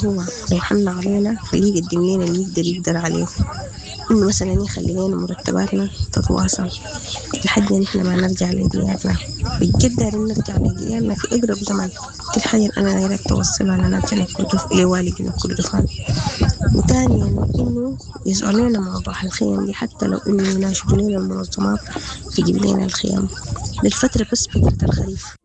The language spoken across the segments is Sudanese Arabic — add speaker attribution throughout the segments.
Speaker 1: هو لو حن علينا خليه يقدم لنا اللي يقدر عليه، إنه مثلا يخلي لنا مرتباتنا تتواصل لحد ما نحن ما نرجع لديارنا. بجد دايرين نرجع لديارنا في أقرب زمن. دي الحاجة اللي أنا دايرك توصلها لنا لوالي جنوب كردفان. وثانيا إنه يسألوا لنا موضوع الخيم دي، حتى لو إنه يناشدوا لنا المنظمات تجيب لنا الخيام للفترة، بس فترة الخريف.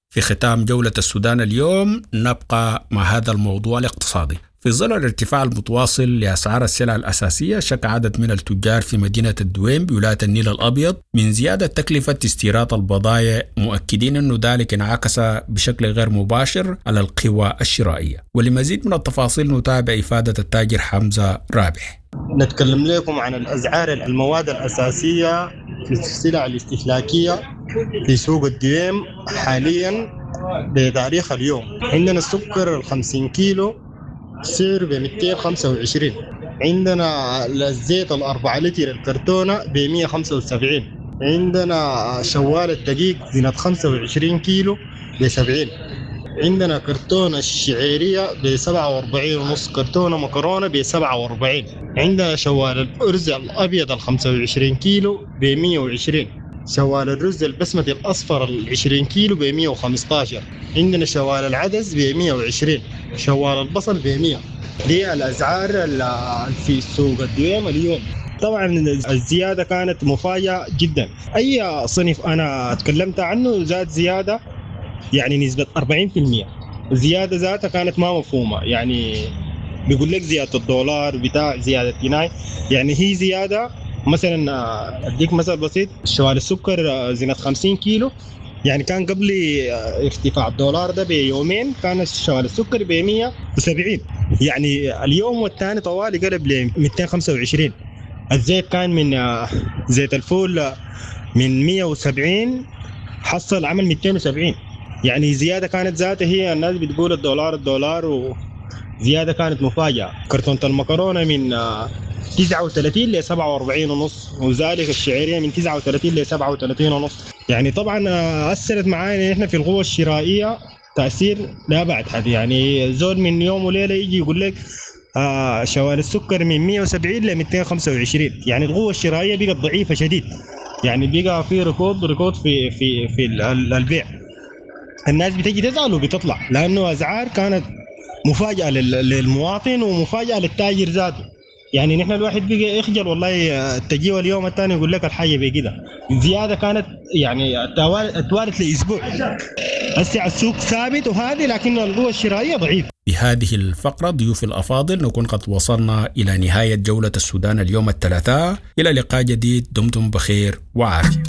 Speaker 2: في ختام جولة السودان اليوم نبقى مع هذا الموضوع الاقتصادي. في ظل الارتفاع المتواصل لأسعار السلع الأساسية، شك عدد من التجار في مدينة الدويم بولاية النيل الأبيض من زيادة تكلفة استيراد البضائع، مؤكدين أن ذلك انعكس بشكل غير مباشر على القوى الشرائية. ولمزيد من التفاصيل نتابع إفادة التاجر حمزة رابح.
Speaker 3: نتكلم لكم عن الأسعار المواد الأساسية في السلع الاستهلاكية في سوق الدويم حاليا بتاريخ اليوم. عندنا السكر 50 كيلو سعره ب 225، عندنا الزيت 4 لتر الكرتونة ب 175، عندنا شوال الدقيق زينة 25 كيلو ب 70، عندنا كرتونة الشعيرية ب 47 ونص، كرتونة مكرونة ب 47، عندنا شوال الأرز الأبيض ال 25 كيلو ب 120، شوال الرز البسمتي الأصفر ال 20 كيلو ب 115، عندنا شوال العدس ب 120، شوال البصل ب 100. دي الأسعار في سوق الدويم اليوم. طبعا الزيادة كانت مفاجأة جدا. أي صنف أنا تكلمت عنه زاد زيادة يعني نسبة 40%. الزيادة ذاتها كانت ما مفهومة، يعني بيقول لك زيادة الدولار بتاع زيادة جنيه، يعني هي زيادة. مثلا أديك مثل بسيط، شوال السكر زينة 50 كيلو، يعني كان قبل ارتفاع الدولار ده بيومين كان شوال السكر ب 170، يعني اليوم والثاني طوالي قلب ل 225. الزيت كان من زيت الفول من 170 حصل عمل 270، يعني زيادة كانت ذاتها هي الناس بتقول الدولار الدولار، وزيادة كانت مفاجأة. كرتونة المكرونة من 39 ل 47 ونص، وذلك الشعيرية من 39 ل 37 ونص. يعني طبعا أثرت معانا احنا في القوة الشرائية تأثير لا بعد حد. يعني زول من يوم وليلة يجي يقول لك شوال السكر من 170 ل 225، يعني القوة الشرائية بقت ضعيفة شديد، يعني بقى في ركود في في في البيع. الناس بتجي تزعل وبتطلع، لأنه أسعار كانت مفاجأة للمواطن ومفاجأة للتاجر ذاته. يعني نحن الواحد بقى يخجل والله، تجيه اليوم الثاني يقول لك الحاجة بكده. الزيادة كانت يعني توالت لاسبوع. هسه السوق ثابت وهذه، لكن القوة الشرائية ضعيفة.
Speaker 2: بهذه الفقرة ضيوف الأفاضل نكون قد وصلنا إلى نهاية جولة السودان اليوم الثلاثاء. إلى لقاء جديد، دمتم بخير وعافية.